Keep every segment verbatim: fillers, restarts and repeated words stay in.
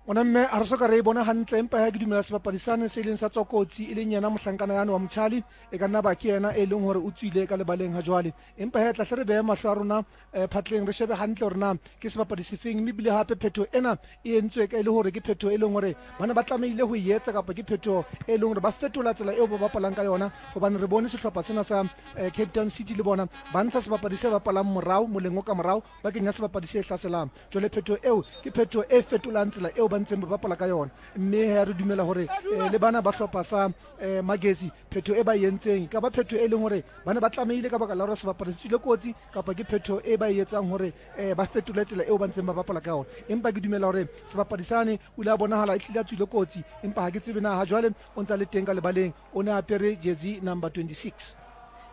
Ona mme ha re soka re e bona hantle, empa ha ke dumela sebapadi sane se leng sa tswa kotsi e leng yena mohlankana yane wa Mtshali, e ka nna ba ke yena e leng hore o tswile ka lebaleng ha jwale. Empa he tla hle re behe mahlo a rona eh, phatleng, re shebe hantle hore na ke sebapadi sefeng, mme ebile hape phetho ena e entswe ka e le hore ke phetho e leng hore bana ba tlamehile ho e etsa, kapa ke phetho e leng hore ba fetola tsela eo ba bapalang ka yona. Hobane re bone sehlopha sena sa eh, Cape Town City le bona ba ntsha sebapadi se bapalang morao moleng o ka morao, ba kenya sebapadi se hlaselang. Jwale phetho eo ke phetho e fetolang tsela eo ba ntseng ba bapala ka yona, mme he re dumela hore eh, le bana ba hlopha sa eh, Magesi phetho e ba e entseng ka ba phetho e leng hore ba ne ba tlamehile ka baka la hore sebapadi se tswile kotsi, kapa ke phetho e ba e etsang hore eh, ba fetole tsela eo ba ntseng ba bapala ka yona. Empa ke dumela hore sebapadi sane o ile a bonahala e hlile a tswile kotsi, empa ha ke tsebe na ha jwale o ntsa le teng ka lebaleng. O ne a apere jersey number twenty-six.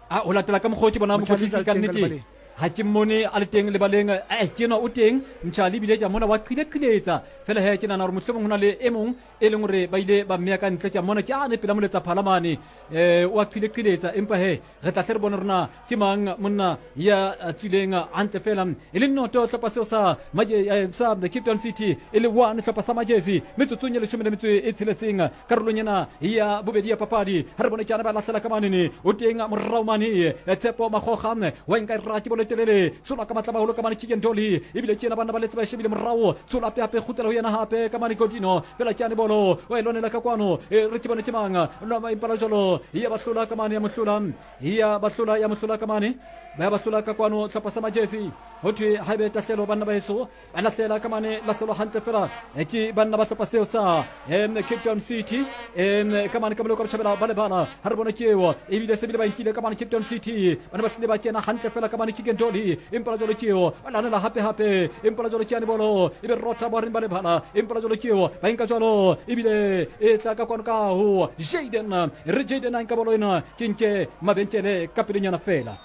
A o latela ka mokgwa o ke bona Motjhali mokwetlisi a le ka teng ka nnete lebaleng. Ha ke mmone a le teng lebaleng. Eh, ke enwa o teng Mtshali, ebile ke a mona wa qile-qiletsa fela. He ke nahana hore mohlomong ho na le e mong e leng hore ba ile ba mmeya ka ntle. Ke a mmona ke ane pela moletsa phala mane, um wa qile-qiletsa, empa he re tla hle re bone rona ke mang monna ya tswileng hantle fela. E le noto hlopha seo sa Maje- eh, sa Cape Town City, e le one hlopha sa Magesi metsotsong ya leshome le metso e tsheletseng karolong ena ya bobedi ya papadi. Ha re bone ke ana ba lahlela ka manene, o teng morao mane eh, Tshepo Magoga wa nka e rake bolo e telele, tshola ka matla maholo ka mane Keagan Dolly, ebile ke ena banna ba letse ba e shebile morao, tshola hape hape kgutlela ho yena hape ka mane Godino fela ke ane bolo wa e lwanela ka kwano. Eh, re ke bone ke mang no impala jalo ya ba hlola ka mane, ya mohlola, ya ba hlola, ya mohlola ka mane, ba ba hlola ka kwano hlopha sa Magesi. Ho thwe haebe tahlelo banna ba heso ba lahlela ka mane, lahlelwa hantle fela eh, ke banna ba hlopha seo sa em, Cape Town City em, ka mane ka moloko botjhabela ba lebala. Ha re bone ke eo ebile se bile ba nkile ka mane Cape Town City, bana ba hlile ba kena hantle fela ka mane Keagan Dolly, empa la jwalo ke eo ba lanela hape hape, empa la jwalo ke yane bolo e be rota bohareng ba lebala, empa la jwalo ke eo ba nka jwalo ebile e tla ka kwano ka ho Jaden, re Jaden a nka bolo ena ke nke mabenkele ka pelenyana fela.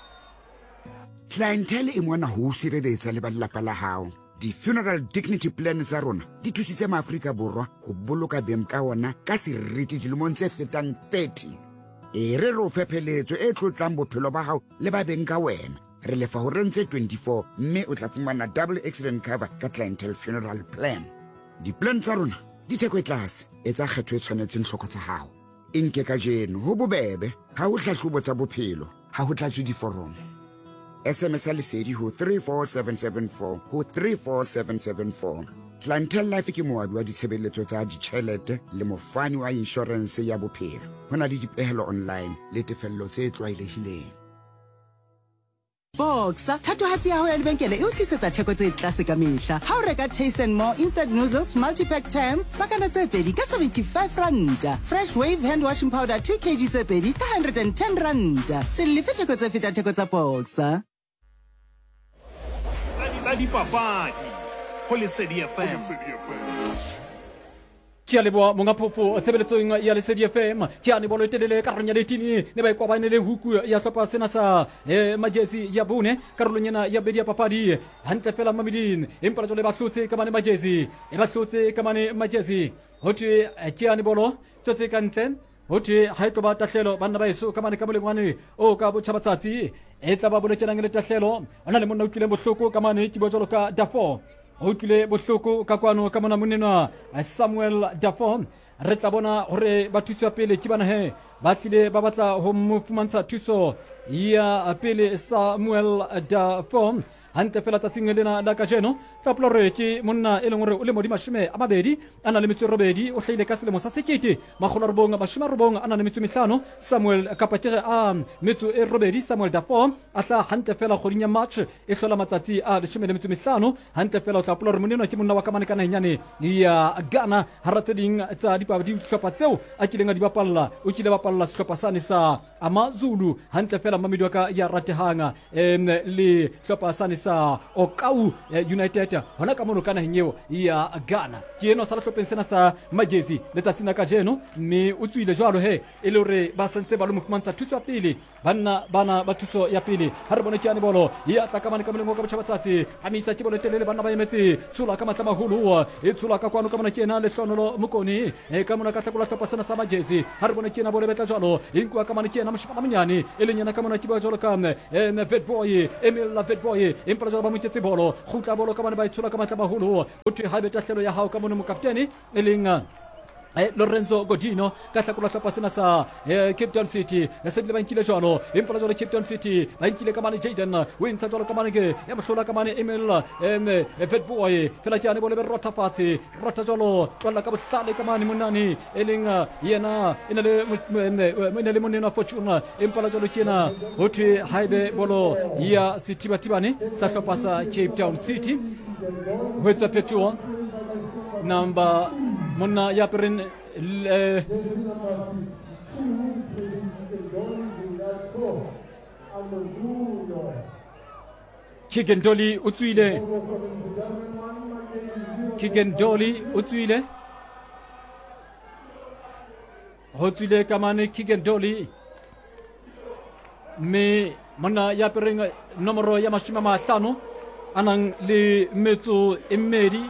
Clientele e mona ho o sireletsa le ba lelapa la hao. Di-funeral dignity plan tsa rona di thusitse maAfrika Borwa ho boloka beng ka ona ka seriti dilemong tse fetang thirty. E re re o fe pheletso e tlotlang bophelo ba hao le ba beng ka wena. Re lefa ho reng tse twenty-four, mme o tla fumana double accident cover ka Clientele funeral plan. Di-plan tsa rona di theko e tlase, etsa kgetho e tshwanetseng hloko tsa hao. E nke kajeno, ho bobebe, ha ho hlahlobo tsa bophelo, ha ho tlatswe diforomo. S M S ya Lesedi ho three four seven seven four ho three four seven seven four. Clientele Life ke moabi wa ditshebeletso tsa ditjhelete le mofani wa inshorense ya bophelo. Ho na le dipehelo online le tefello tse tlwaelehileng. Boxer, thatohatsi ya hao ya lebenkele e o tlisetsa theko tse tlase ka mehla. Ha o reka Taste and More instant noodles multipack tens, pakana tse pedi ka seventy-five ranta. Fresh Wave hand washing powder two kilograms tse pedi ka one hundred and ten ranta. Se lefe theko tse fetang theko tsa Boxer. Tsa dipapadi go Lesedi F M. Ke a leboa monga phofo tshebeletsong ya Lesedi F M. Ke ane bolo e telele karolong ya letini ne ba e kwabane le huku ya hlopha sena sa eh, Magesi ya bone karolong ena ya bedi ya papadi hantle fela mameding, empa la jwale ba hlotse ka mane Magesi, e ba hlotse ka mane Magesi. Ho thwe eh, ke ane bolo tswetse ka ntle, ho thwe ha e tlo ba tahlelo banna ba eso ka mane ka molengwane o ka botjhabatsatsi, e tla ba bolokelang le tahlelo. O na le monna o utlwileng bohloko ka mane, ke bua jwalo ka Dafo, o utlwile bohloko ka kwano ka mona monenwa Samuel Dafo. Re tla bona hore ba thuso ya pele ke bana he ba tlile ba batla ho mo fumantsha thuso ya pele Samuel Dafo hantle fela tsatsing lena la kajeno. Tla hopola hore ke monna e leng hore o lemo di mashome a mabedi a na le metso e robedi, o hlahile ka selemo sa sekete makgolo a robong mashome a robong a na le metso e mehlano Samuel, kapa ke re a metso e robedi Samuel Dafo, a hlaha hantle fela kgweding ya March e hlola matsatsi a leshome le metso e mehlano hantle fela. O tla hopola hore monna ke monna wa ka mane ka naheng ya Ghana. Hara tse ding tsa dihlopha tseo a kileng a di bapalla, o kile bapalla sehlopha sane sa Amazulu hantle fela, mamedi wa ka ya ratehang, em le hlopha sane sa Okau eh, United hona ka mono ka naheng eo ya Ghana. Ke eno sa sehlopheng sena sa Magesi letsatsing la kajeno, mme o tswile jwalo he e le hore ba santse ba lo mo fumantsha thuso ya pele banna bana ba thuso ya pele. Ha re bone ke yane bolo ya tla ka mane ka moleng ka botjhabatsatsi, phamisa ke bolo e telele, banna ba emetse, tshola ka matla maholo, e tshola ka kwano ka mona ke ena Lehlonolo Mokone e ka mona ka hlakola hlopha sena sa Magesi. Ha re bone ke ena bolo e betla jwalo, e nkuwa ka mane ke ena moshimana monyane e leng yena ka mona ke bua jwalo ka Vetboy Emil Vetboy, Empa jwalo ba mo nketse bolo kgutla bolo ka bane ba itshola ka matla maholo ho thwe haebe tahlelo ya hao ka mono mokaptene e leng Eh, Lorenzo Godino ka hlakola hlopha sena sa eh, Cape Town City se bile ba nkile jwalo empa jwalo Cape Town City ba nkile ka mane Jaden o ntsha jwalo ka mane ke ya mohlola ka mane Emil em Fat Boy fela ke ane bole be rotha fatshe rotha jwalo tlwalla ka bohlale ka mane monane e leng yena e na le e na le monena Fortune empa jwalo ke yena ho thwe haebe bolo ya sethibathibane sa hlopha sa Cape Town City ho etswa phetoho number monna ya apereng eh, Keegan Dolly o tswile Keegan Dolly o tswile ho tswile ka mane Keegan Dolly mme monna ya apereng nomoro ya mashome a mahlano a nang le metso e mmedi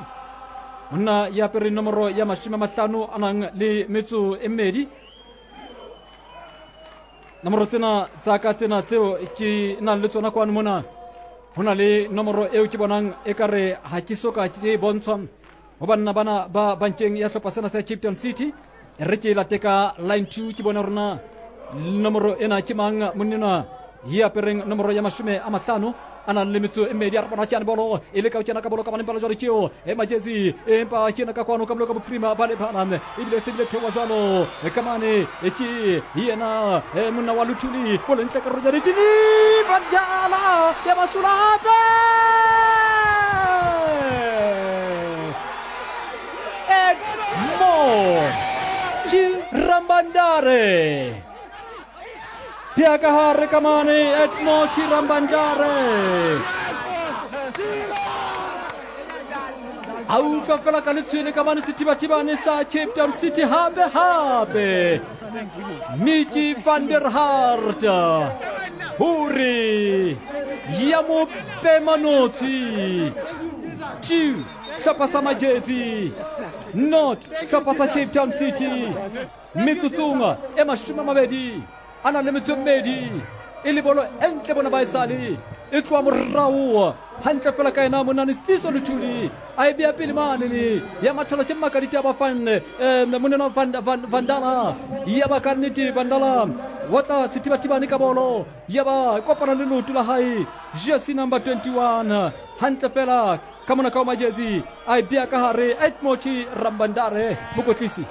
monna ya apere nomoro ya mashome a mahlano a nang le metso e mmedi nomoro tsena tsa ka tsena tseo ke nang le tsona kwano mona ho na le nomoro eo ke bonang ekare ha ke soka ke e bontshwa ho banna bana ba bankeng ya hlopha sena sa Cape Town City re ke late ka line two ke bona rona nomoro ena ke mang monnena ya apereng nomoro ya mashome a mahlano a nang le metso e mmedi a re bona ke ane bolo e leka ho kena ka bolo ka bane bolo jwalo ke eo e majezi empa ke ena ka kwano ka bolo ka bophirima ba lebala ebile se bile theoha jwalo ka mane ke yena monna wa Luthuli bolo ntle ka roja ditini Vandala ya ba hlola hape Edmond Chirambandare Pia ka hare ka mane Edmond Chirambandare a utlwa fela ka letshwele ka mane sethibathibane sa Cape Town City hape hape Mickey van der Hart hore ya mo pemanotsi two hlopha sa Magesi not hlopha sa Cape Town City metsotsong e mashome a mabedi a nang le metso e mmedi e le bolo e ntle bona ba e sale e tloha morao hantle fela ka ena monane Sifiso Luthuli a e beya pele mane ya matholo ke Makaditaba Van eh, monena Van, Van, Vandala ya ba ka nnete Vandala wa tla sethibathibane ka bolo ya ba kopana le leoto la hae jersey number twenty-one hantle fela ka mona ka o Magesi a e beya ka hare Edmond Chirambandare mokotlisi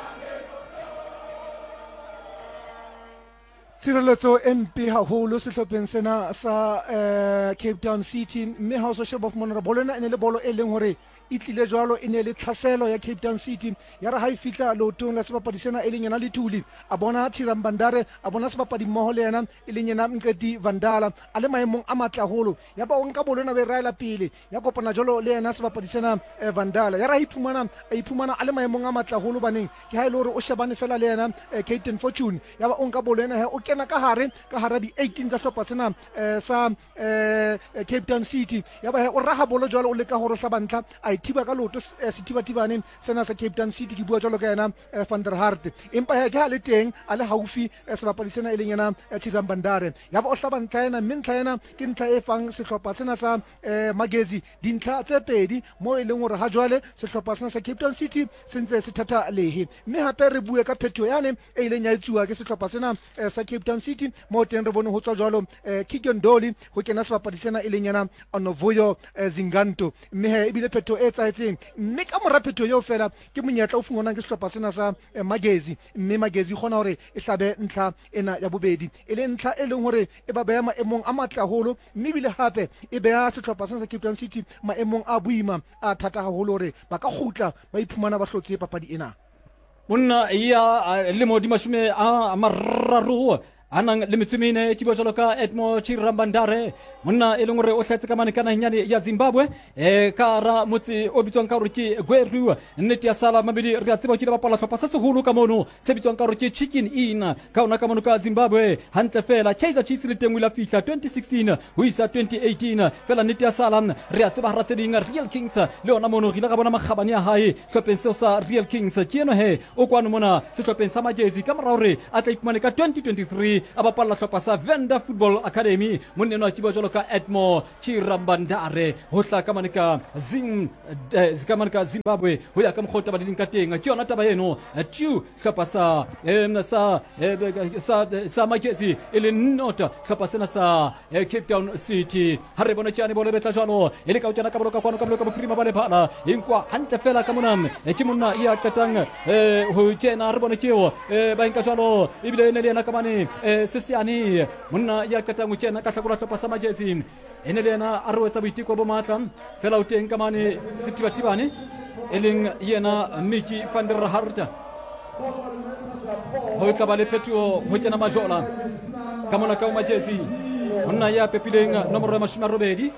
Tshireletso e mpe haholo sehlopheng sena sa eh, Cape Town City mme ha o so sheba fumana hore bolo ena e ne le bolo e leng hore e tlile jwalo e ne le tlhaselo ya Cape Town City ya re ha e fihla leotong la sebapadi sena e leng yena Lethuli a bona Chirambandare a bona sebapadi mmoho le yena e leng yena Nqeti Vandala a le maemong a matle haholo ya ba o nka bolo ena ba e raela pele ya kopana jwalo le yena sebapadi sena eh, Vandala ya re ha iphumana a iphumana a le maemong a matle haholo baneng ke ha e le hore o shebane fela le yena eh, Cape Fortune ya ba o nka bolo ena he o kena ka hare ka hara di eighteen tsa hlopha sena eh, sa eh, Cape Town City ya ba he o raha bolo jwalo o leka hore o hlaba ntlha a thiba ka leoto sethibathibane sena sa Cape Town City ke bua jwalo ka yena Van der Hart empa he ke ha le teng a le haufi sebapadi sena e leng yena Chirambandare ya ba o hlaba ntlha ena mme ntlha ena ke ntlha e fang sehlopha sena sa Magesi dintlha tse pedi mo e leng hore ha jwale sehlopha sena sa Cape Town City se ntse se thatha lehe mme hape re bue ka phetho yane e ileng ya etsuwa ke sehlopha sena sa Cape Town City mo teng re bone ho tswa jwalo Keegan Dolly ho kena sebapadi sena e leng yena Onovuyo Zinganto mme he ebile phetho e etsahetseng mme ka mora phetho eo fela ke monyetla o fumanwang ke sehlopha sena sa Magesi mme Magesi kgona hore e hlabe ntlha ena ya bobedi e le ntlha e leng hore e ba beha maemong a matle haholo mme ebile hape e beha sehlopha sena sa Cape Town City maemong a boima a thata haholo hore ba ka kgutla ba iphumana ba hlotse papadi ena. Monna ya lemo di mashome a mararo a nang le metso e mene ke bua jwalo ka Edmond Chirambandare monna e leng hore o hlahetse ka mane ka naheng yane ya Zimbabwe eh ka hara motse o bitswang ka hore ke Gweru nnete ya sala mabedi re a tseba ke le bapala hlopha se seholo ka mono se bitswang ka hore ke Chicken Inn ka ona ka mono ka Zimbabwe hantle fela Kaizer Chiefs le teng o ile a fihla twenty sixteen ho isa twenty eighteen fela nnete ya sala re a tseba hara tse ding Real Kings le ona mono re ile ra bona makgabane a hae hlopheng seo sa Real Kings ke eno he o kwano mona sehlopheng sa Magesi ka mora hore a tla iphumane ka twenty twenty-three papadi a bapalla hlopha sa Venda Football Academy monna enwa ke bua jwalo ka Edmo Chirambandare ho hla ka mane ka Zim eh, ka mane ka Zimbabwe ho ya ka mokgwa o taba di leng ka teng ke yona taba eno two hlopha sa em, sa eh, sa sa Magesi e le not hlopha sena sa eh, Cape Town City ha re bone tjane bolo e betla jwalo e le ka o kena ka bolo ka kwano ka bolo ka bophirima ba lebala e nkwa hantle fela ka mona eh, ke monna ya qetang eh, ho kena re bone keo eh, ba nka jwalo ebile e ne le yena ka mane eh, Sesiane monna ya qetang ho kena ka hlakola hlopha sa Magesi e ne le yena a re o etsa boiteko bo matla fela o teng ka mane Sethibathibane e leng yena Mickey van der Hart ho tla ba le phetoho ho kena Majola ka mona ka ho Magesi monna ya pepileng nomoro ya mashome a robedi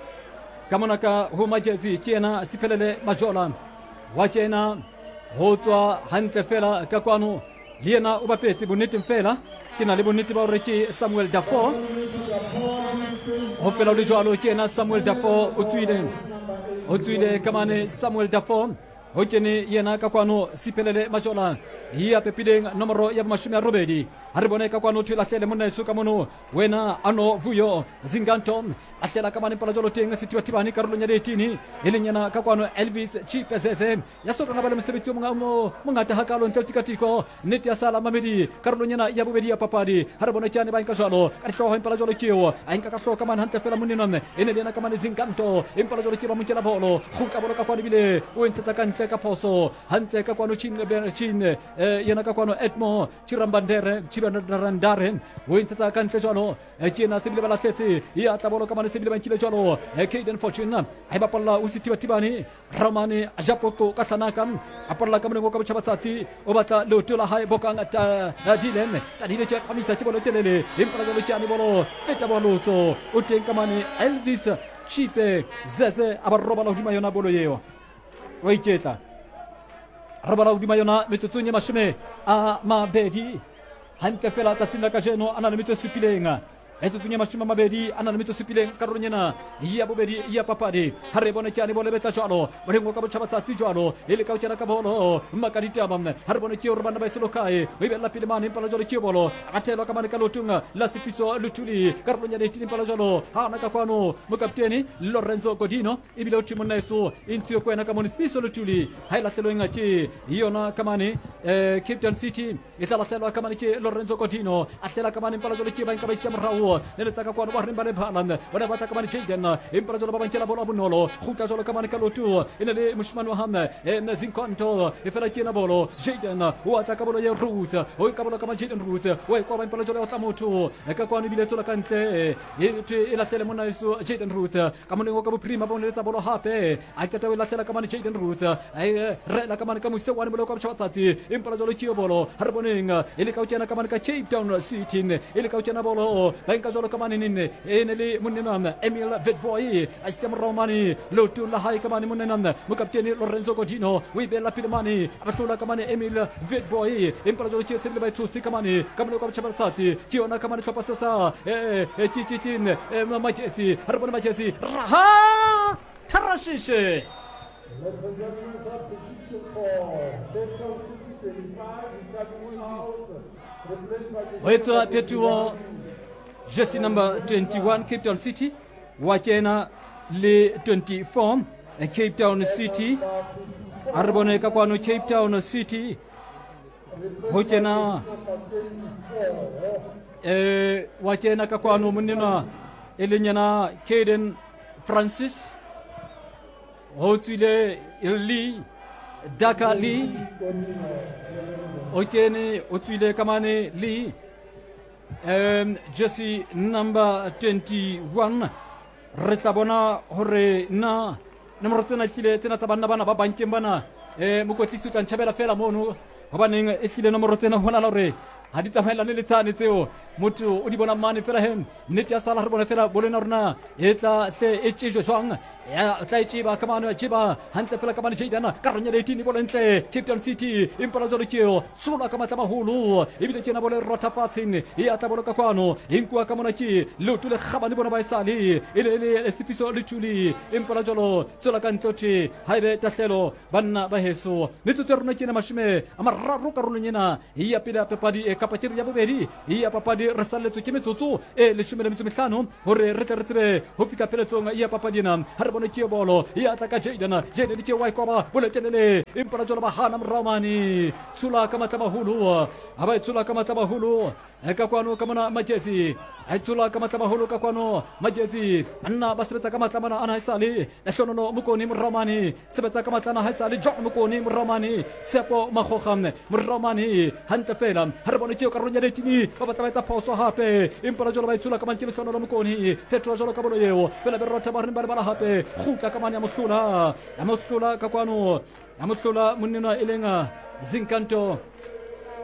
ka mona ka ho Magesi ke yena Siphelele Majola wa kena ho tswa hantle fela ka kwano le yena o bapetse bonneteng fela ke na le bonnete ba hore ke Samuel Dafoe ho fela ho le jwalo ke yena Samuel Dafoe o tswile o tswile ka mane Samuel Dafoe ho kene yena ka kwano Siphelele Majola ya pepileng nomoro ya mashome a robedi ha re bone ka kwano thwe lahlele monna eso ka mono wena ano vuyo Zinganto lahlela ka mane pala jwalo teng Sethibathibane karolong ya eighteen e leng yena ka kwano Elvis Chipezeze ya sokana ba le mosebetsi o monga- mo mongata hakalo ntle le tikatiko nnete ya sala mamedi karolong ena ya bobedi ya papadi ha re bone ke ane ba nka jwalo ka dihlooho empa la jwalo ke eo a nka ka hlooho ka mane hantle fela monnenwa e ne le yena ka mane Zinganto empa la jwalo ke ba mo nkela bolo kgutla bolo ka kwano ebile o e ntshetsa ka ntle ka phoso hantle ka kwano Chin Chin eh, yena ka kwano Edmo Chirambandere Chirambandare o e ntshetsa ka ntle jwalo eh, ke yena se bile ba lahletse ya tla bolo ka mane se bile ba nkile jwalo eh, Caden Fortune a e bapalla o Sethibathibane Ramane Japoqo ka hlanaka a palla ka moleng o ka botjhabatsatsi o batla leoto la hae bokang Tadile Tadile ke a phamisa ke bolo e telele empa la jwalo ke ane bolo feta bolotso o teng ka mane Elvis Chipe Zeze a ba robala hodima yona bolo eo wa iketla robala hodima yona metsotsong e mashome a mabedi hantle fela tsatsing la kajeno a na le metso e supileng metsotsong e mashome a mabedi a na le metso e supileng karolong ena ya bobedi ya papadi ha re bone ke ane bolo e betla jwalo moleng o ka botjhabatsatsi jwalo e le ka o kena ka bolo maka ditaba ha re bone ke hore banna ba e selo kae o e bella pele mane empa la jwalo ke bolo a thelwa ka mane ka leotong la Sefiso Luthuli karolong ya eighteen empa la jwalo ha ana ka kwano mokaptene Lorenzo Godino ebile o thwe monna eso e ntshiwe ko wena ka mone Sefiso Luthuli ha e lahlelweng ke yona ka mane eh, Cape Town City e tla lahlelwa ka mane ke Lorenzo Godino a hlela ka mane empa la jwalo ke ba nka ba isa morao le letsa ka kwano ba reng ba le phala bona ba tla ka mane Jaden empa la jwalo ba ba nkela bolo a bonolo kgutla jwalo ka mane ka loto e ne le moshimane wa hame eh, Zinkonto e fela ke ena bolo Jaden o atla ka bolo ya Roots o ka bolo ka mane Jaden Roots o e kwaba empa la jwalo ya otla motho e ka kwano ebile e tswela ka ntle e thwe e lahlele monna eso Jaden Roots ka moneng o ka bophirima ba mo neletsa bolo hape a qeta o e lahlela ka mane Jaden Roots a e rela ka mane ka mose wane bolo ka botjhabatsatsi empa la jwalo ke yo bolo ha re boneng e le ka o kena ka mane ka Cape Town City e le ka o kena bolo ba nka jwalo ka mane nene e ne le monnenwa Emil Vetboy a sia morao mane leotong la hae ka mane monnenwa mokaptene Lorenzo Godino o e beella pele mane a ba tlola ka mane Emil Vetboy empa la jwalo ke se bile ba e tshotse ka mane ka mone ka botjhabatsatsi ke yona ka mane hlopha seo sa eh, eh, ke ke ke eh, Magesi ha re bone Magesi raha tharashishe Ladies and gentlemen, substitution for Cape Town City twenty-five is coming out, replaced by ho etswa phetoho jersey number twenty-one Cape Town City wa kena le twenty-four eh, Cape Town City a re bone ka kwano Cape Town City ho kena eh wa kena ka kwano monnenwa e leng yena Caden Francis ho tswile Lee Daka Lee o kene o tswile ka mane Lee um jersey number twenty-one re tla bona hore na nomoro tsena ehlile tsena tsa banna bana ba bankeng bana eh mokwetlisi o tla ntjhabela fela mono hobaneng ehlile nomoro tsena ho bonahala hore ha di tsamaelane le tsane tseo motho o di bona mane fela he nnete ya sala re bone fela bolo ena rona e tla hle e tjejwe jwang ya tla e tjeba ka mane ya tjeba hantle fela ka mane Jaden ka reng ya eighteen bolo ntle Cape Town City empa la jwalo ke eo tshola ka matla maholo ebile ke ena bolo e rotha fatsheng e ya tla bolo ka kwano e nkuwa ka mona ke leoto le kgabane bona ba e sale e le le Sefiso Luthuli empa la jwalo tswela ka ntle thwe ha ebe tahlelo banna ba heso metsotso ya rona ke ena mashome a mararo karolong ena ya pele ya papadi e kapa ke re ya bobedi ya papadi re salletswe ke metsotso e leshome le metso mehlano hore re tle re tsebe ho fihla pheletsong ya papadi ena. Ha re bone ke bolo ya tla ka Jaden, Jaden ke wa ikoba boletelele empa la jwalo ba hana morao mane tshola ka matla maholo ha ba e tshola ka matla maholo ka kwano ka mona Magesi a tshola ka matla maholo ka kwano Magesi banna ba sebetsa ka matla mana ana haesale Lehlonono Mokone morao mane sebetsa ka matla ana haesale John Mokone morao mane Tshepo Makgoga morao mane hantle fela. Ha re bone ke karolong ya letini ba batla ba etsa phoso hape empa la jwalo ba e tshola ka mane ke Lehlonono Mokone Petro jwalo ka bolo eo fela be rotha ba reng ba lebala hape kgutla ka mane ya mohlola ya mohlola ka kwano ya mohlola monnenwa e leng Zinkanto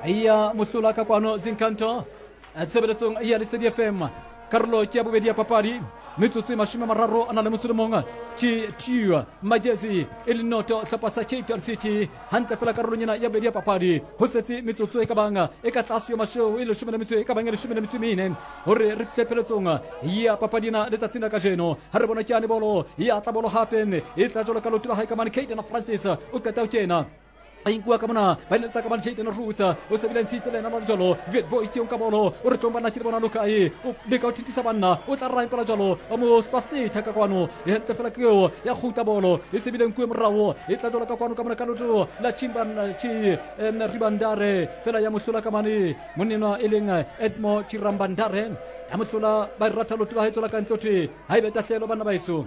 ya mohlola ka kwano Zinkanto tshebeletsong ya Lesedi F M karolo ke ya bobedi ya papadi metsotso e mashome a mararo a na le motso le mong ke two Magesi e le noto hlopha sa Cape Town City hantle fela karolong ena ya bobedi ya papadi ho setse metsotso e ka bang e ka tlase yo masheo e leshome le metso e ka bang e leshome le metso e mene hore re fihle pheletsong ya papadi ena letsatsing la kajeno. Ha re bona ke yane bolo ya tla bolo hape e tla jwalo ka leoto la hae ka mane Caden Francis o qeta ho kena a inkuwa ka mona ba eletsa ka mane Jaden Roots o sebile ntshitse le ena jalo Witbooi ke nka bolo o re tlong banna ke le bona lokae o leka ho thintisa banna o tla ra impela jalo ba mo setha ka kwano e hantle fela ke eo ya kgutla bolo e sebile nkuwe morao e tla jalo ka kwano ka mona ka leoto la Chimban Chi Ribandare fela ya mohlola ka mane monnenwa e leng Edmo Chirambandare ya mohlola ba ratha leoto la hae tswela ka ntle thwe ha ebe tahlehelo banna ba eso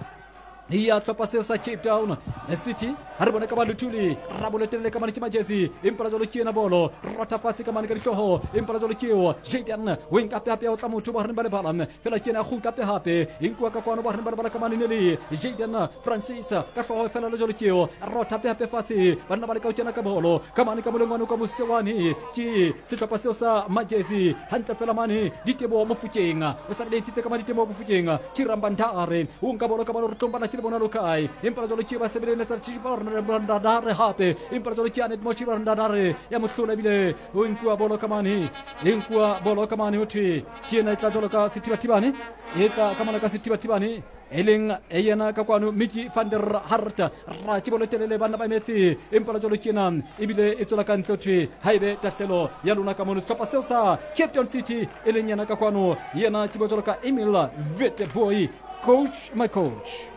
ya hlopha seo sa Cape Town City. Ha re bone ka ba Luthuli raboletelele ka mane ke Magesi empa jwalo ke ena bolo rotha fatshe ka mane ka dihlooho empa jwalo ke eo Jaden o nka hape hape o tla motho ba reng ba lebala fela ke ena kgutla hape hape e nkuwa ka kwano ba reng ba lebala ka mane le Jaden Francis ka hlooho fela le jwalo ke eo rotha hape hape fatshe banna ba leka ho kena ka bolo ka mane ka molengwane ka mosewane ke sehlopha seo sa Magesi hantle fela mane Ditebo Mofokeng o sa le itsitse ka mane Ditebo Mofokeng Chirambandare o nka bolo ka bolo re tlombana ke le bona lokae empa jwalo ke ba sebeletsa Chirambandare hape empa jwalo ke Anet mo Chirambandare ya mohlola ebile o nkuwa bolo ka mane e nkuwa bolo ka mane ho thwe ke ena e tla jwalo ka sethibathibane e tla ka mane ka sethibathibane e leng yena ka kwano Mickey van der Hart ra ke bolo telele banna ba emetse empa jwalo ke ena ebile e tswela ka ntle thwe ha ebe tahlelo ya lona ka mono sehlopha seo sa Cape Town City e leng yena ka kwano yena ke bo jwalo ka Emil Witbooi coach my coach.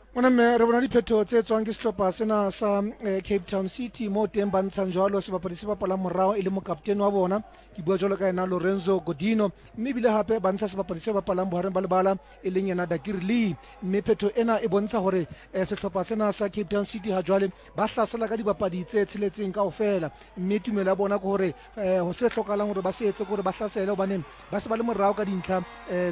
Mona mme re bona diphetho tse tswang ke sehlopha sena sa Cape Town City mo teng ba ntshang jwalo sebapadi se bapalang morao e le mokaptene wa bona ke bua jwalo ka yena Lorenzo Godino mme ebile hape ba ntsha sebapadi se bapalang bohareng ba lebala e leng yena Dakir Lee mme phetho ena e bontsha hore sehlopha sena sa Cape Town City ha jwale ba hlasela ka dibapadi tse tsheletseng kaofela mme tumelo ya bona ke hore ho se hlokahalang hore ba se etse ke hore ba hlasele hobane ba se ba le morao ka dintlha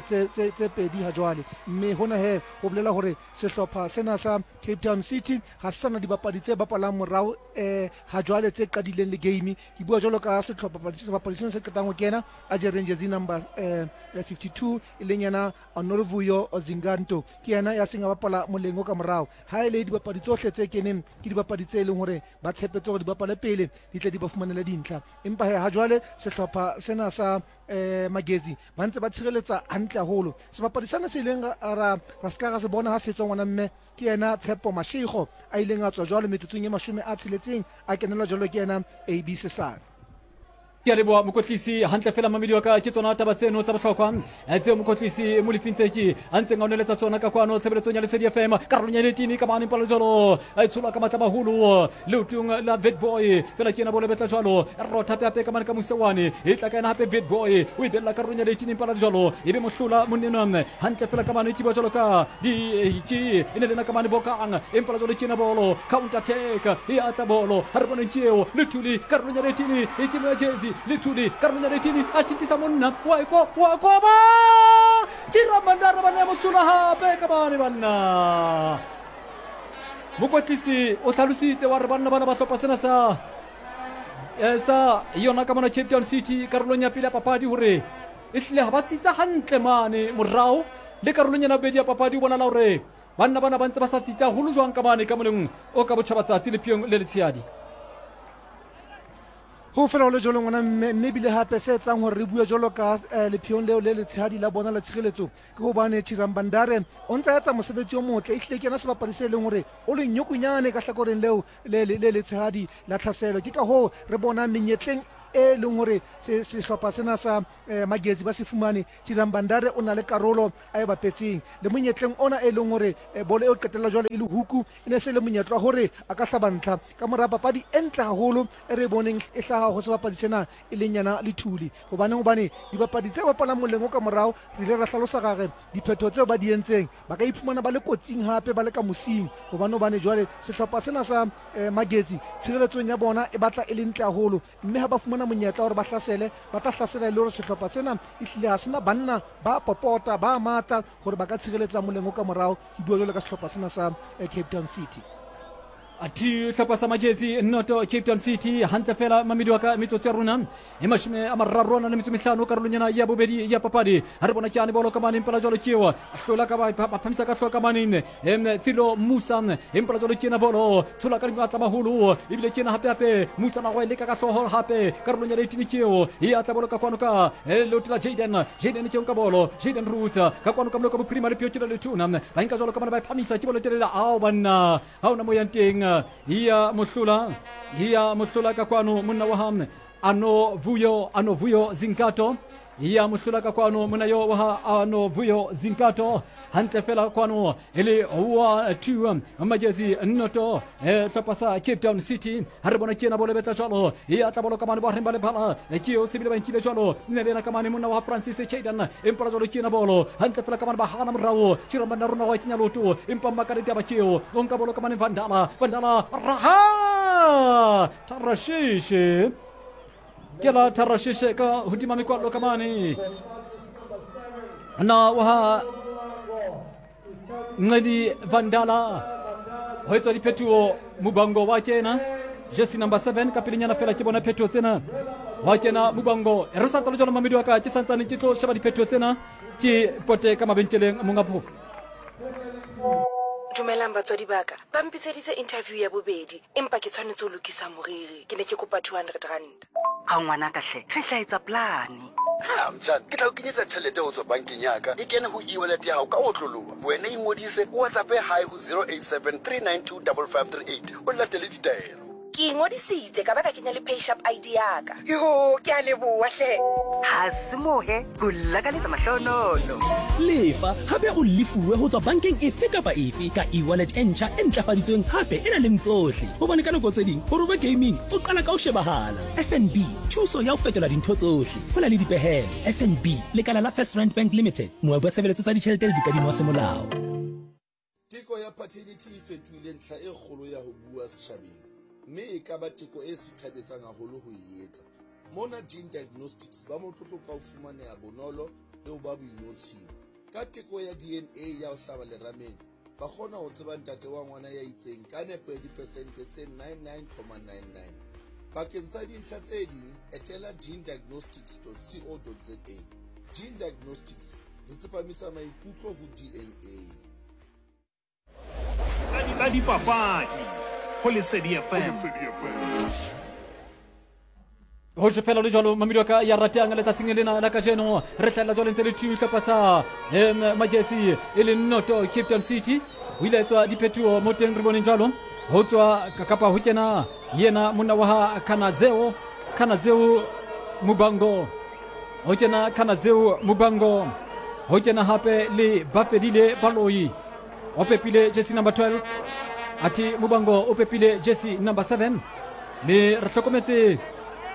tse tse tse pedi ha jwale mme hona he ho bolela hore sehlopha sena sa Cape Town City ha se sana dibapadi tse bapalang morao eh ha jwale tse qadileng le game ke bua jwalo ka sehlopha sebapadi sena se qetang ho kena a jereng jersey number eh fifty-two e leng yena Honorvuyo Zinganto ke yena ya seng a bapala moleng o ka morao ha ile dibapadi tsohle tse keneng ke dibapadi tse leng hore ba tshepetse hore di bapale pele di tle di ba fumanele dintlha empa he ha jwale sehlopha sena sa eh Magesi ba ntse ba tshireletsa hantle haholo sebapadi sena se ileng ra ra ska ra se bona ha se tswa ngwana mme ke yena Tshepo Mashego a ileng a tswa jwalo metsotsong e mashome a tsheletseng a kenelwa jwalo ke yena A B Sesane. Ke a leboha mokotlisi hantle fela mamedi wa ka ke tsona taba tseno tsa bohlokwa tseo mokotlisi Molefi Ntseki a ntseng a o neletsa tsona ka kwano tshebeletsong ya Lesedi F M karolong ya letini ka mane palo jwalo a e tsholwa ka matla maholo leotong la Witbooi fela ke ena bolo betla jwalo rotha hape hape ka mane ka mosewane e tla ka ena hape Witbooi o e bella karolong ya letini palo jwalo e be mohlola monnenwa hantle fela ka mane ke ba jwalo ka di ke e ne lena ka mane bokang empa jwalo ke ena bolo counter attack e atla bolo ha re bone ke eo Lethuli karolong ya letini e ke mo jezi Lethuli karolong ya letini a thintisa monna wa iko wa koba Chirambandare bana mohlola hape ka mane banna mokotlisi o hlalositse wa re banna bana ba hlopha sena sa sa yona ka mona Cape Town City karolong ya pele ya papadi hore e hlile ha ba tsitsa hantle mane morao le karolong ya bobedi ya papadi o bonala hore banna bana ba ntse ba sa tsitsa haholo jwang ka mane ka moleng o ka botjhabatsatsi le phiong le letshehadi. Ho fela ho le jwalo ngwana mme mme ebile hape se etsang hore re bue jwalo ka eh, lepheong leo le letshehadi la bona la tshireletso ke hobane Chirambandare o ntse a etsa mosebetsi o motle. Ehlile ke yena sebapadi se leng hore o le nyokonyane ka hlakoreng leo le le le letshehadi la tlhaselo. Ke ka hoo re bona menyetleng e leng hore se sehlopha sena sa eh, Magesi ba se fumane, Chirambandare o na le karolo a e bapetseng le monyetleng ona e leng hore eh, bolo eo qetella jwale e le huku e ne se le monyetla wa hore a ka hlaba ntlha ka mora papadi e ntle haholo e re boneng e hlaha ho sebapadi sena e leng yena Lethuli. Hobaneng? Hobane dibapadi tse bapalang moleng o ka morao re ile ra hlalosa gare diphetho tseo ba di entseng ba ka iphumana ba le kotsing hape ba le ka mosing. Hobane hobane jwale sehlopha sena sa eh, Magesi tshireletsong ya bona e batla e le ntle haholo, mme ha ba fumana monyetla hore ba hlasele ba tla hlasela e le hore sehlopha sena ehlile ha sena banna ba popota ba matla hore ba ka tshireletsa moleng o ka morao. Ke bua jwalo ka sehlopha sena sa eh, Cape Town City. Athe hlopha sa Magesi noto Cape Town City hantle fela mamedi wa ka metsotso ya rona e mashome a mararo a na le metso mehlano karolong ena ya bobedi ya papadi. Ha re bona ke ane bolo ka mane impela jwalo ke eo hlola ka ba ba phamisa ka hloka mane em Thilo Musa impela jwalo ke ena bolo tshola ka matla maholo ebile ke ena hape hape Musa na go e leka ka hloho hape karolong ya eighteen ke eo e atla bolo ka kwano ka leoto la Jaden Jaden ke nka bolo Jaden Roots ka kwano ka moloko bophirima le pheo ke le letona ba nka jwalo ka mane ba phamisa ke bolo telele ao banna ha ona moyang teng iya mohlola iya mohlola ka kwano monna wa ha ano vuyo ano vuyo Zinkato iya mohlola ka kwano monna yo wa ha ano vuyo Zinkato hantle fela kwano ele wa two Magesi noto hlopha sa Cape Town City. Ha re bona ke ena bolo betla jwalo iya tla bolo ka mane ba reng ba le phala ke eo sebile ba nkile jwalo nne le ena ka mane monna wa Francis Chaden empa jwalo ke ena bolo hantle fela ka mane ba hana morao Chirambanda rona wa kenya loto empa maka ditaba ke eo o nka bolo ka mane Vandala Vandala raha Tarashishe ke la Tarashishe ka hodima mekwallo ka mane na wa Ncedi Vandala ho etswa diphetoho Mubango wa kena jersey number seven ka pelenyana fela ke bona phetoho tsena wa kena Mubango. Re sa ntse le jwalo mamedi wa ka ke santsane ke tlo sheba diphetoho tsena ke pote ka mabenkeleng monga phofo. Dumelang batswadi ba ka, ba mpitseditse interview ya bobedi empa ke tshwanetse ho lokisa moriri. Ke ne ke kopa two hundred rand. Ga ngwana ka hle, re tla etsa plan. Ha mtjana, ke tla o kenyetsa tjhelete ho tswa bankeng ya ka. E kene ho e-wallet ya hao ka otloloha. Wena ingodise o WhatsApp hi ho zero eight seven three nine two five five three eight o latele ditaelo. Ke ingodisitse ka ba ka kenya le PayShap I D ya ka. Yo, ke a leboha hle. Ha se mohe, ho lakaletsa mahlonono. Lefa hape o lefuwe ho tswa bankeng efe kapa efe ka e-wallet e ntjha e ntlafaditsweng hape e na leng tsohle. Hobane ka nako tse ding hore o be gaming o qala ka ho shebahala. F N B, thuso ya ho fetola dintho tsohle. Ho na le dipehelo. F N B, lekala la First Rand Bank Limited, moabi wa tshebeletso tsa ditjhelete le dikadimo wa semolao. Teko ya paternity e fetohile ntlha e kgolo ya ho bua setjhabeng, mme e ka ba teko e sithabetsang haholo ho e etsa. Mona Gene Diagnostics ba motlotlo ka ho fumaneha bonolo le ho ba boinotshing. Ka teko ya D N A ya ho hlaba lerameng, ba kgona ho tseba ntate wa ngwana ya itseng ka nepo ya dipersente tse ninety-nine point nine nine. Bakeng sa dintlha tse ding, etela gene diagnostics dot co dot za. Gene Diagnostics, re tsepamisa maikutlo ho D N A. Tsa dipapadi ho Lesedi F M. Ho fela le jwalo mamedi wa ka ya ratang letsatsing lena la kajeno re hlahella jwalo ntse le two hlopha sa Magesi e le noto Cape Town City. Ho ile etswa diphetoho mo teng re boneng jwalo ho tswa kapa ho kena yena monna wa ha Kanazeo Kanazeo Mubango ho kena Kanazeo Mubango ho kena hape le Bafedile Baloi o pepile jersey number twelve ati Mubango o pepile jersey number seven me re hlokometse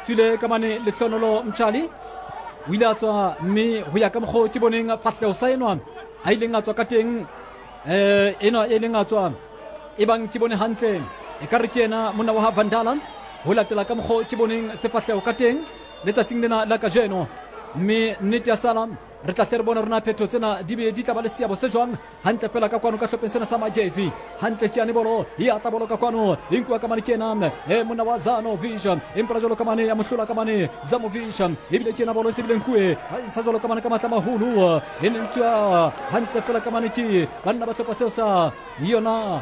tswile ka mane Lehlonolo Mtshali o ile a tswa mme ho ya ka mokgo ke boneng fahleho sa enwa a ileng a tswa ka teng eh enwa e leng a tswa e bang ke bone hantle e ka re ke ena monna wa ha Vandala ho latela ka mokgo ke boneng sefahleho ka teng letsatsing lena la kajeno mme nnete ya sala re tla hle re bona rona phetho tsena di be di tla ba le seabo se jwang hantle fela ka kwano ka hlopheng sena sa Magesi hantle ke yane bolo e atla bolo ka kwano e nkuwa ka mane ke ena e monna wa Zanovic empa jwalo ka mane ya mohlola ka mane Zamovic ebile ke ena bolo e sebile nkuwe ntsha jwalo ka mane ka matla maholo e ne ntswa hantle fela ka mane ke banna ba hlopha seo sa yona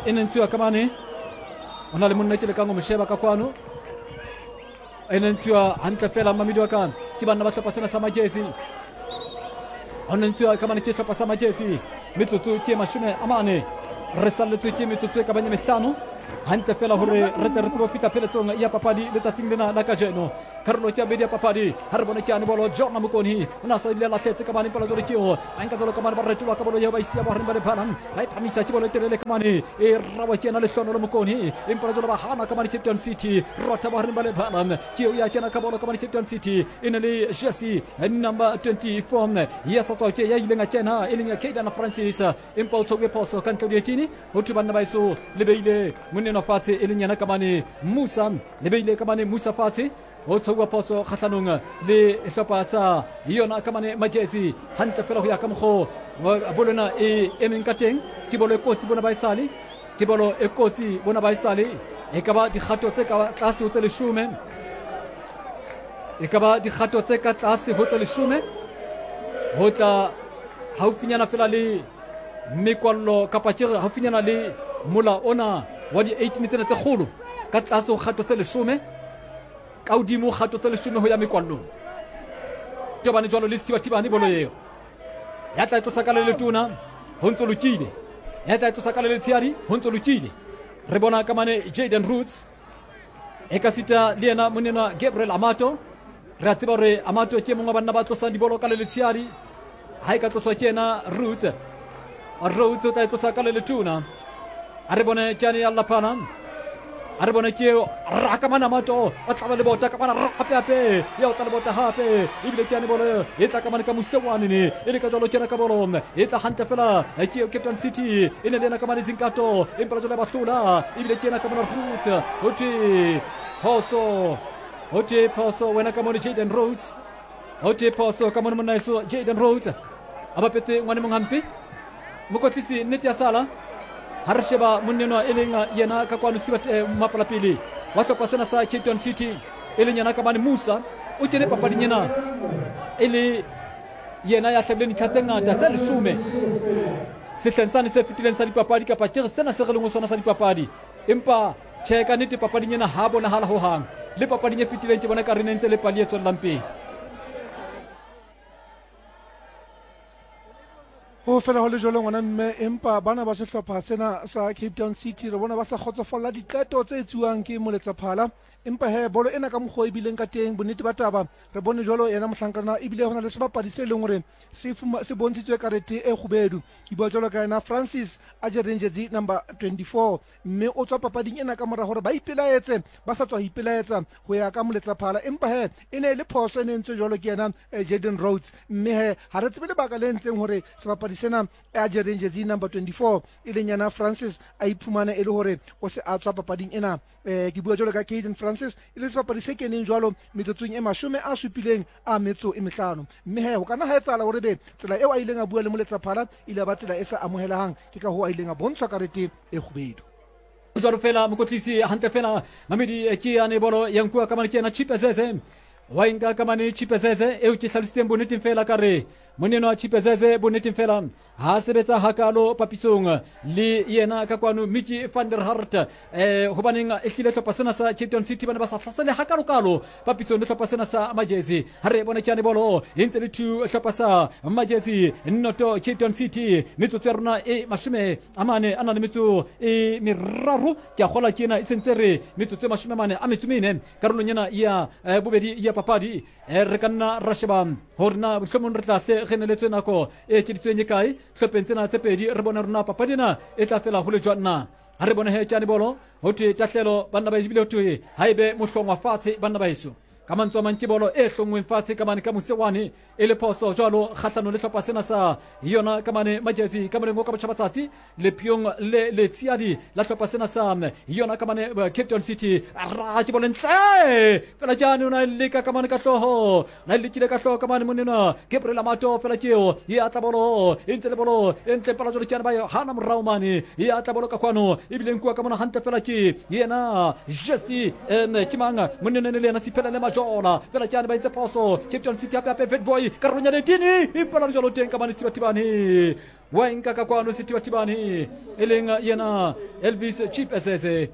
e ne ntswa ka mane o na le monna ke lekang ho mo sheba ka kwano. E ne ntshiwa hantle fela mamedi wa ka ke banna ba hlopha sena sa Magesi. Ho ne ntshiwa ka mane ke hlopha sa Magesi. Metsotso ke mashome a mane. Re salletswe ke metsotso e ka bang e mehlano. Hantle fela hore re tle re tsebe ho fihla pheletsong ya papadi letsatsing lena la kajeno. Karolo ke ya bobedi ya papadi. Ha re bone ke yane bolo Jona Mokoni o na sa ebile a lahletse ka mane pela jwale ke eo. A nka jwalo ka mane ba retolwa ka bolo eo ba isiya bohareng ba lebala. Ba e phamisa ke bolo e telele ka mane e rawa ke yena Lehlohonolo Mokoni. Empa jwale ba hana ka mane Cape Town City. Rota bohareng ba lebala. Ke eo ya kena ka bolo ka mane Cape Town City. E ne le jersey number twenty-four ya sa tswa ke ya ileng a kena e leng ya Kaidana Francis. Empa o tshwauwe phoso ka ntle ho dietini. Ho thwe banna ba eso le beile monnenwa fatshe e leng yena ka mane Musa, le beile ka mane Musa fatshe. Ho tshwauwa phoso kgahlanong le hlopha sa yona ka mane Magesi. Hantle fela ho ya ka mokgo bolo ena e emeng ka teng. Ke bolo e kotsi bona ba esale. Ke bolo e kotsi bona ba esale. E ka ba dikgato tse ka tlase ho tse leshome. E ka ba dikgato tse ka tlase ho tse leshome. Ho tla haufinyana fela le mekwallo kapa ke re haufinyana le mola ona wa di-eighteen tsena tse kgolo ka tlase ho kgato tse leshome, ka hodimo kgato tse leshome ho ya mekwallong. Tobane jwalo le Sethibathibane bolo eo. Ya tla e tlosa ka le letona ho ntso lokile. Ya tla e tlosa ka le letshehadi ho ntso lokile. Re bona ka mane Jaden Roots e ka sita le yena monena Gabriel Amato. Re a tseba hore Amato ke mongwe wa banna ba tlosang dibolo ka le letshehadi. Ha e ka tloswa ke yena Roots. Roots o tla e tlosa ka le letona. A re bone ke ane ya Lapana. A re bone ke eo raka mana Amato o tlaba le bota ka mana hape hape ya o tla le bota hape ebile ke ane bolo e tla ka mane ka Mosewane ne e le ka jwalo ke ka bolo e tla hantle fela ke eo Cape Town City e ne le yena ka mane Zinkato empa jwale ba hlola ebile ke yena ka mona Roots. Ho thwe phoso, ho thwe phoso wena ka mone Jaden Rhodes. Ho thwe phoso ka mone monna eso Jaden Rhodes a bapetse ngwane mong hampe. Mokotlisi nnete ya sala. Ha re sheba monnenwa e leng yena ka kwano Stewart mapala pele wa hlopha sena sa Cape Town City e leng yena ka mane Musa o kene papading ena e le yena ya hlabileng dintlha tse ngata tse leshome sehleng sane se fetileng sa dipapadi kapa ke re sena se re leng ho sona sa dipapadi. Empa tjhe ka nnete papading ena ha bonahala hohang. Le papading e fetileng ke bona ka re ne ntse le pali e tswellang pele. Ho fela ho le jwalo ngwana mme, empa bana ba sehlopha sena sa Cape Town City re bona ba sa kgotsofalla diqeto tse etsuwang ke moletsaphala. Empa he bolo ena ka mokgwa e bileng ka teng bonnete ba taba re bone jwalo yena mohlankana ebile ho na le sebapadi se leng hore se se bontshitswe karete e kgubedu. Ke bua jwalo ka yena Francis a jereng jersey number twenty-four mme o tswa papading ena ka mora hore ba ipelaetse ba sa tswa ho ipelaetsa ho ya ka moletsaphala. Empa he e ne e le phoso e ne entswe jwalo ke yena Jaden Rhodes mme he ha re tsebe lebaka le entseng hore sebapadi sena a jereng jersey number twenty-four e leng yena Francis a iphumane e le hore o se a tswa papading ena. Eh ke bua jwalo ka Caden Francis e le sebapadi se keneng jwalo metsotsong e mashome a supileng a metso e mehlano mme he ho kana ha etsahala hore be tsela eo a ileng a bua le moletsaphala ile ba tsela e sa amohelehang, ke ka hoo a ileng a bontshwa karete e kgubedu. Jwalo fela mokotlisi hantle fela Mamedi ke yane bolo ya nkuwa ka mane ke yena Chipezeze wa inka ka mane Chipezeze eo ke hlalositseng bonneteng fela ka re moneno wa Chipezeze bonneteng fela ha sebetsa hakalo papisong le yena ka kwano Mickey van der Hart eh hobaneng e hlile hlopha sena sa Cape Town City bana ba sa hlasele hakalo-kalo papisong le hlopha sena sa Magesi. Ha re bone ke yane bolo e ntse le two hlopha sa Magesi noto Cape Town City metsotso ya rona e mashome a mane a na le metso e meraro ke a kgola ke ena e sentse re metsotso e mashome a mane a metso mene karolong ena ya bobedi ya papadi. Re ka nna ra sheba hore na mohlomong re tla hle re neletswe nako e ekeditsweng e kae hlopheng tsena tse pedi re bone rona papadi ena e tla fela ho le jwang na. Ha re bone he ke ane bolo ho thwe tahlelo banna ba ebile ho thwe ha ebe mohlongwa fatshe banna ba heso ka mantswe a mang ke bolo e hlongweng fatshe ka mane ka Mosewane e le phoso jwalo kgahlano le hlopha sena sa yona ka mane Magesi ka moleng o ka botjhabatsatsi lepheong le letshiadi la hlopha sena sa yona ka mane Cape Town City. Ra ke bolo ntle fela jane o na leka ka mane ka hlooho na lekile ka hlooho ka mane monena Gabriel Amato fela ke eo e atla bolo e ntse le bolo e ntle pala jwalo ke yana ba yo hana morao mane e atla bolo ka kwano ebile nkuwa ka mona hantle fela ke yena Jesse ke mang monena le yena Siphela le Majola fela ke yana ba entse phoso Cape Town City hape hape Fatboy karolong ya letini empa jwalo teng ka mane Sethibathibane wa nka ka kwano Sethibathibane e leng yena Elvis Chipezeze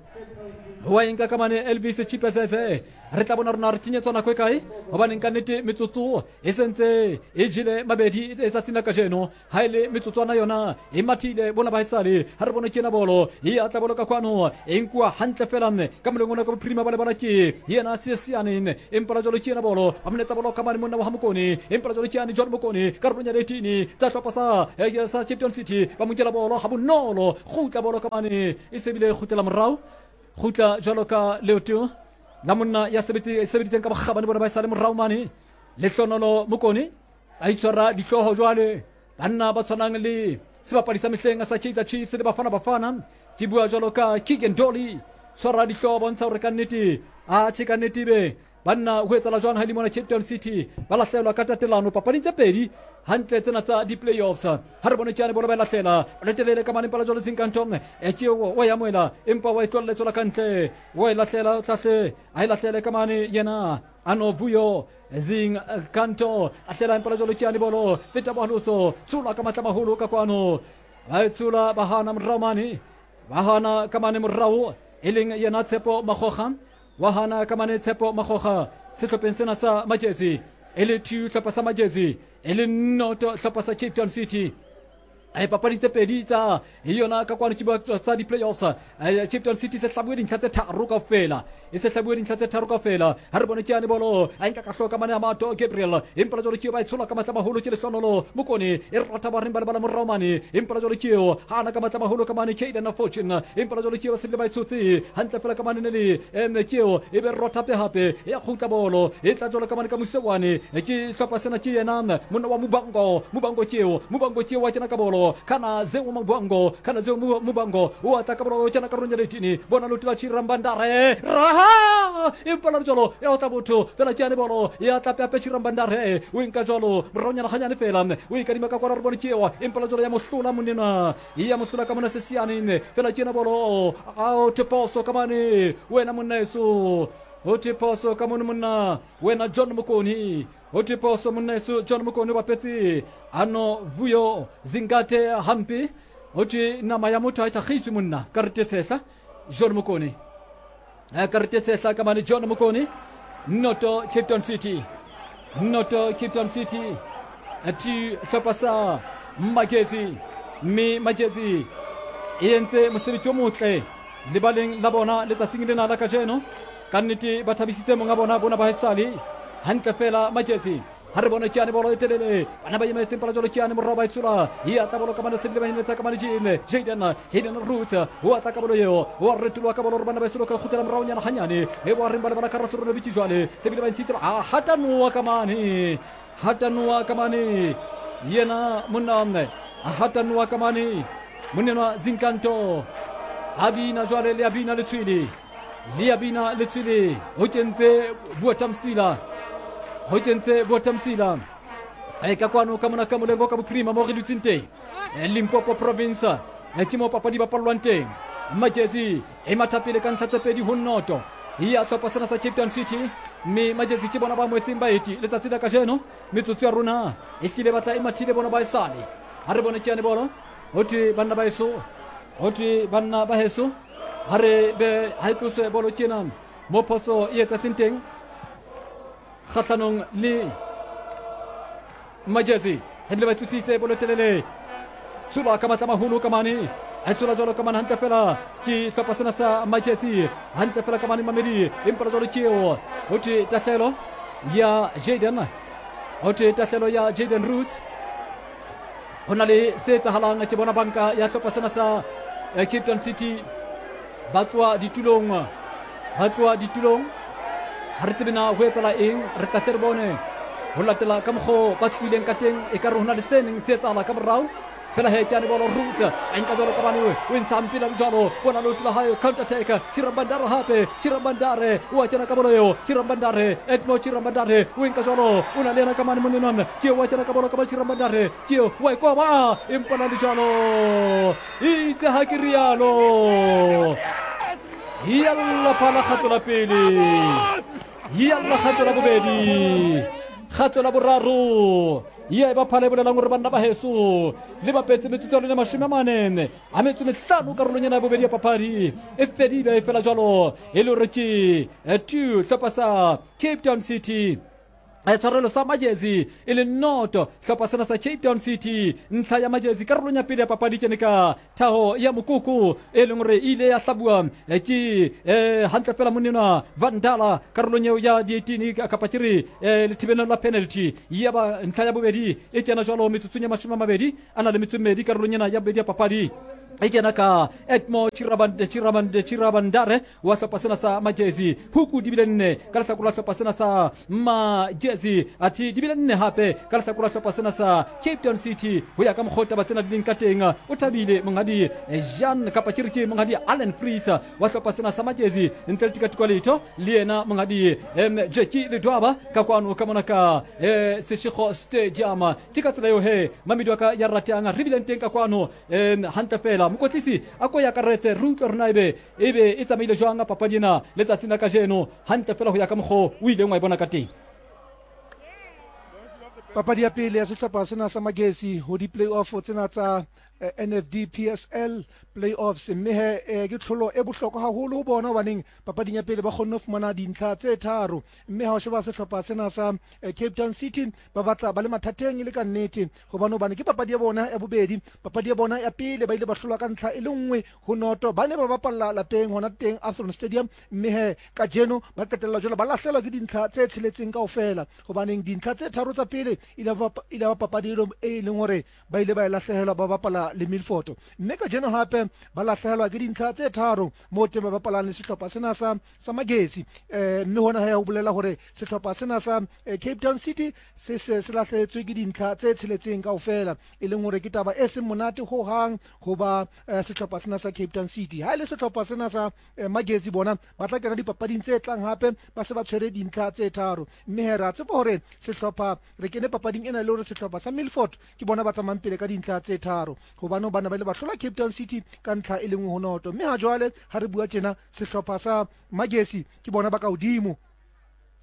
Wa enka ka mane Elvis Chipezeze. Re tla bona rona re kenyetswa nako e kae, hobaneng ka nnete metsotso e sentse e jele mabedi letsatsing la kajeno. Ha e le metsotswana yona e mathile bona ba esale. Ha re bone ke ena bolo e atla bolo ka kwano, e nkuwa hantle fela ka moleng ona ka bophirima ba lebala ke yena Seseane, empa la jwalo ke ena bolo ba monetsa bolo ka mane monna wa ha Mokone, empa la jwalo ke yane John Mokone karolong ya eighteen tsa hlopha sa sa Cape Town City. Ba mo nkela bolo ha bonolo, kgutla bolo ka mane e sebile kgutlela morao, kgutla jwalo ka leoto la monna ya sebeditseng ka bokgabane bona ba e sale morao mane. Lehlonolo Mokone a itshwara dihlooho jwale, banna ba tshwanang le sebapadi sa mehleng sa Kaizer Chiefs le Bafana Bafana, ke bua jwalo ka Keegan Dolly, tshwara dihlooho bontsha hore ka nnete a tjhe ka nnete be banna ho etsala jwang ha le mona Cape Town City ba lahlelwa ka tatelano papading tse pedi hantle tsena tsa di-playoffs. Ha re bone ke yane bolo ba e lahlela letelele ka mane pala jwalo Zinkantong, e ke wa e amohela empa wa e tlohella e tswela ka ntle, wa e lahlela tlahle a e lahlele ka mane yena Anovuyo Zinkanto a hlela empa la jwalo ke yane bolo feta bohalotso tshola ka matla maholo ka kwano, ba e tshola ba hana morao mane, ba hana ka mane morao e leng yena Tshepo Makgoga, wa hana ka mane Tshepo Makgoga sehlopheng sena sa Magesi, e le two hlopha sa Magesi e le noto hlopha sa Cape Town City. E papadi tse pedi tsa yona ka kwano ke bua tsa di-playoffs. Cape Town City se hlabuwe dintlha tse tharo kaofela, e se hlabuwe dintlha tse tharo kaofela. Ha re bone ke yane bolo a nka ka hloka mane a Mato Gabriel, empa la jwalo ke eo ba e tshola ka matla maholo ke Lehlonolo Mokone, e rata ba reng ba lebala morao mane, empa la jwalo ke eo ha ana ka matla maholo ka mane Caden Fortune, empa la jwalo ke eo ba sebile ba e tshotse hantle fela ka mane ne le eme ke eo e be rota hape hape ya kgutla bolo e tla jwalo ka mane ka Mosewane. Ke hlopha sena ke yena monna wa Mubango, Mubango ke eo, Mubango ke eo wa kena ka bolo kana zeo Mubango, kana zeo Mubango o atla ka bolo kena karolong ya eighteen, bona leoto la Chirambandare raha empa la jwalo ya otla botho fela ke yane bolo ya tla pepe Chirambandare o nka jwalo moraonyana ganyane fela o e kadima ka kwana re bone ke eo, empa la jwalo ya mohlola monena ya mohlola ka mona Sesiane fela ke yena bolo a o theposo ka mane wena monna eso, o theposo ka mone monna wena John Mokone, o theposo monna eso John Mokone bapetse ano Vuyo Zingate hampe, ho thwe nama ya motho ha e tlhagiswe monna ka re tshehla John Mokone, ka re tshehla ka mane John Mokone. Noto Cape Town City, noto Cape Town City ati hlopha sa Magesi, mme Magesi e entse mosebetsi o motle lebaleng la bona letsatsing lena la kajeno. Ka nnete ba thabisitse monga bona bona ba haesale hantle fela Magesi. Ha re bone ke yane bolo e telele, bana ba emetseng pala jwalo ke yane morao ba e tshola e atla bolo ka mane sebile ba heletsa ka mane Jane Jaden Jaden Roots o atla ka bolo eo, o retoloha ka bolo hore bana ba e soloka kgutlela moraonyana hanyane e ba reng ba lebala ka Rasorolo bitse jwale sebile ba ntshitse a hatanoa ka mane, hatanoa ka mane yena monna a hatanoa ka mane monna Zinkanto a bina jwale le a bina letshwele, le a bina letshwele ho kentse Buatamsila, ho kentse Buatamsila e ka kwano ka mona ka molengo ka bophirima mo re dutseng teng Limpopo province ke mo papadi ba pallwang teng. Magesi e mathapele ka ntlha tse pedi ho noto ya hlopha sena sa Cape Town City, mme Magesi ke bona ba moetseng baeti letsatsi la kajeno. Metsotso ya rona e hlile batla e mathile bona ba esale. Ha re bone ke yane bolo ho thwe banna ba eso, ho thwe banna ba heso, ha re be ha e tloswe bolo ke ena mo phoso e etsatseng teng kgahlanong le Magesi. Sebile ba tlositse bolo telele, tshola ka matla maholo ka mane, a tshola jwalo ka mane hantle fela ke hlopha sena sa Magesi hantle fela ka mane Mamedi, empa jwalo ke eo ho thwe tahlelo ya Jaden, ho thwe tahlelo ya Jaden Roots. Ho na le se etsahalang ke bona banka ya hlopha sena sa Cape Town City ba tloha ditulong, ba tloha ditulong. Ha re tsebe na ho etsahala eng, re tla hle re bone ho latela ka mokgo ba tlohileng ka teng, e ka re ho na le se neng se etsahala ka morao. Fela he ke yane bolo Roots a nka jwalo ka bane o ntsha mpila jwalo, bona leoto la hae counter attack Chirambandare hape, Chirambandare o a kena ka bolo eo, Chirambandare Edmo Chirambandare o nka jwalo, o na le yena ka mane monenong ke eo wa kena ka bolo ka ba Chirambandare ke eo wa e koba empa na le jwalo itse ha ke rialo yalla phala kgato la pele, yalla kgato la bobedi. Kgato la boraro ya e ba phala e bolelang gore banna ba heso le bapetse metsotso ya lone mashome a mane a metso mehlano karolong ena ya bobedi ya papadi e fedile e fela jalo e le gore ke two hlopha sa Cape Town City tshwarelo sa Magesi e le noto hlopha sena sa Cape Town City ntlha ya Magesi karolong ya pele ya papadi kene ka thaho ya mokoko e leng gore e ile ya hlabua ke hantle fela monnenwa Vandala karolong eo ya di-eighteen kapa ke re lethibelelo la penalty ya ba ntlha ya bobedi e kena jwalo metsotsong ya mashome a mabedi a na le metso mmedi karolong ena ya bobedi ya papadi e kena ka Edmo Chirabande Chirabande Chirabandare wa hlopha sena sa Magesi huku di bile nne ka lehlakore la hlopha sena sa Magesi athe di bile nne hape ka lehlakore la hlopha sena sa Cape Town City ho ya ka mokgwa taba tsena di leng ka teng o thabile monghadi Jean kapa ke re ke monghadi Allen Fries wa hlopha sena sa Magesi ntle le tikatiko letho le yena monghadi Jackie Ledwaba ka kwano ka mona ka Seshego Stadium ke ka tsela eo he mamedi wa ka ya ratang re bileng teng ka kwano hantle fela mokotlisi a ko ya karetse re utlwe rona ebe ebe e tsamaile jwang papadi ena letsatsing la kajeno hantle fela ho ya ka mokgwa o ileng wa e bona ka teng. Papadi ya pele ya sehlopha sena sa Magesi ho di-playoff tsena tsa N F D P S L playoffs mme he ke tlholo e bohlokwa haholo ho bona hobaneng papading ya pele ba kgonne ho fumana dintlha tse tharo mme ha o sheba sehlopha sena sa Cape Town City ba batla ba le mathateng e le ka nnete hobane hobane ke papadi ya bona ya bobedi. Papadi ya bona ya pele ba ile ba hlolwa ka ntlha e le nngwe ho noto, ba ne ba bapalla lapeng hona teng Athlone Stadium mme he kajeno ba qetella jwale ba lahlelwa ke dintlha tse tsheletseng kaofela hobaneng dintlha tse tharo tsa pele ile ba papadi e leng hore ba ile ba e lahlehelwa ba bapala le Milford mme kajeno hape ba lahlehelwa ke dintlha tse tharo mo teng ba bapalang le sehlopha sena sa sa Magesi eh mme hona ha ho bolela hore sehlopha sena sa Cape Town City se se se lahlehetswe ke dintlha tse tsheletseng kaofela e leng hore ke taba e seng monate ho hang ho ba sehlopha sena sa Cape Town City. Ha ile sehlopha sena sa Magesi bona ba tla kena dipapading tse tlang hape ba se ba tshwere dintlha tse tharo mme he ra tshepa hore sehlopha re kene papading ena le hore sehlopha sa Milford ke bona ba tsamayang pele ka dintlha tse tharo hobane bana ba ile ba hlola Cape Town City ka ntlha e le nngwe ho noto mme ha jwale ha re bua tjena sehlopha sa Magesi ke bona ba ka hodimo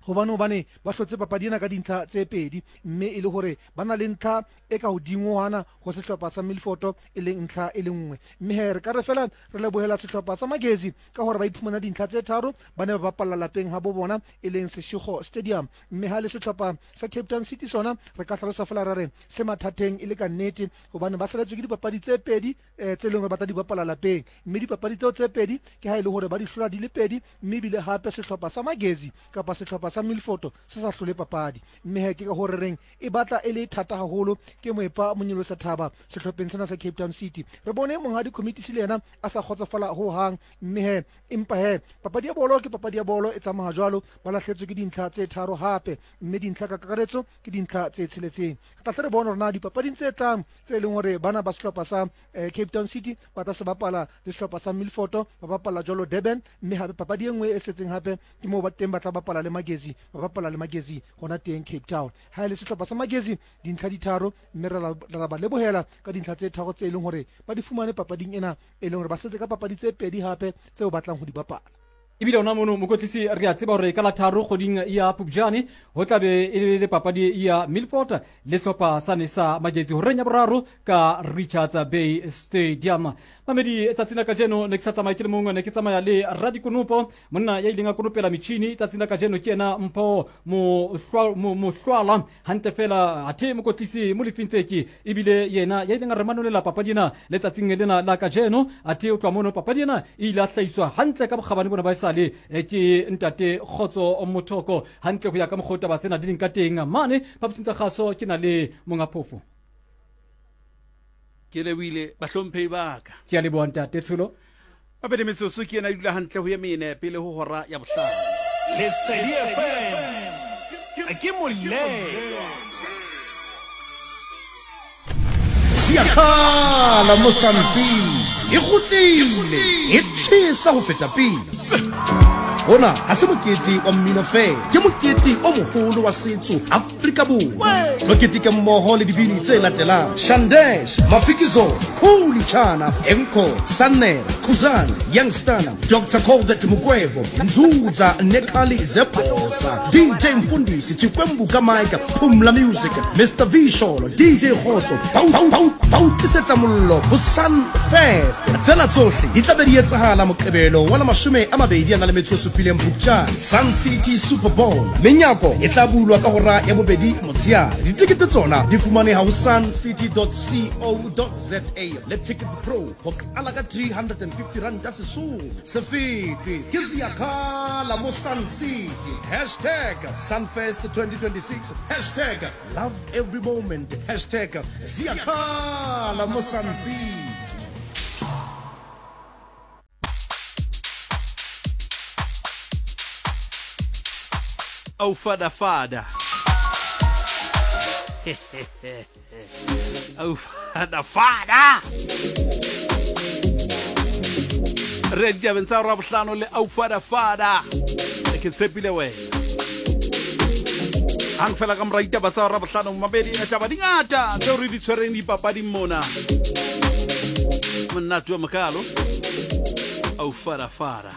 hobane hobane ba hlotse papadi ena ka dintlha tse pedi mme e le hore ba na le ntlha e ka hodingwana ho sehlopha sa Milford e leng ntlha e le nngwe mme he re ka re fela re lebohela sehlopha sa Magesi ka hore ba iphumana dintlha tse tharo ba ne ba bapalla lapeng ha bo bona e leng Seshego Stadium mme ha le sehlopha sa Cape Town City sona re ka hlalosa fela ra re se mathateng e le ka nnete hobane ba saletswe ke dipapadi tse pedi tse leng hore ba tla di bapala lapeng mme dipapadi tseo tse pedi ke ha e le hore ba di hlola di le pedi mme ebile hape sehlopha sa Magesi kapa sehlopha sa Milford se sa hlole papadi mme he ke ka hore reng e batla e le thata haholo ke moepa monyolosa thaba sehlopheng sena sa Cape Town City. Re bone monghadi committee le yena a sa kgotsofala ho hang mme he empa he papadi ya bolo ke papadi ya bolo e tsamaya jwalo ba lahletswe ke dintlha tse tharo hape mme dintlha ka kakaretso ke dintlha tse tsheletseng. Re tla hle re bone hore na dipapading tse tlang tse leng hore bana ba sehlopha sa Cape Town City ba tla se bapala le sehlopha sa Milford ba bapala jwalo Durban mme hape papadi e nngwe e setseng hape ke moo ba teng ba tla bapala le Magesi ba bapala le Magesi hona teng Cape Town. Ha e le sehlopha sa Magesi dintlha di tharo mme re ba lebohela ka dintlha tse tharo tse leng hore ba di fumane papading ena e leng hore ba setse ka papadi tse pedi hape tseo batlang ho di bapala. Ebile ona mono mokotlisi re a tseba hore ka la tharo kgoding ya Phupjane ho tla be e le papadi ya Milford le hlopha sane sa Magesi horeng ya boraro ka Richards Bay Stadium. Mamedi tsatsing la kajeno ne ke sa tsamaye ke le mongwe, ne ke tsamaya le Radikonopo monna ya ileng a konopela metjhini tsatsing la kajeno ke yena Mpho Mohlwala hantle fela athe mokotlisi Molefi Ntseki ebile yena ya ileng a re manolela papadi ena letsatsing lena la kajeno athe o tloha mono papadi ena e ile a hlahiswa hantle ka bokgabane bona ba esale ke ntate Kgotso Mothoko hantle ho ya ka mokgwa taba tsena di leng ka teng mane phaposing tsa kgaso ke na le monga phofo. Ke lebohile bahlomphehi ba ka. Ke a leboha ntate Tsholo. Mabedi metsotso ke ena e dula hantle ho ye mene pele ho hora ya bohlano. Lesedi F M ke molemo. Yakhala Mozambique e kgutlile e tjhesa ho feta pele. Hona ha se mokete wa mmino feela, ke mokete o moholo wa setso Afrika Afrika Borwa. Tlo keteka mmoho le dibini tse latelang: Shandesh, Mafikizolo, Khuli Chana, Enko, Sanel, Khuzani, Youngstana, Doctor Colbert Mukwevho, Nzuza Nekhali Zebhosa, D J Mfundisi, Chikwembu Kamaika, Phumla Music, Mister V Sholo, D J Khotso, ba o tlisetsa mollo ho Sun Fest. Tsena tsohle di tla be di etsahala Moqebelo wa la mashome a mabedi a na le metso e supileng Phupjane, Sun City Super Bowl. Menyako e tla bulwa ka hora ya bobedi motsheare. Ditekete tsona di fumaneha ho sun city dot co dot za le Ticket Pro ho qala ka three hundred and fifty rand ya Sesotho. Se fete ke Siyakhala mo Sun City. Hashtag Sunfest twenty twenty-six. Hashtag love every moment. Hashtag Siyakhala mo Sun City. Oh, fada fada. Oh, fada fada. Re ditabeng tsa Rabohlano le au fada fada. Ke tshepile wena. Hang fela ka mora ditaba tsa Rabohlano mabedi a taba di ngata tseo re di tshwereng dipapading mona. Monate wa mokalo. Au fada fada.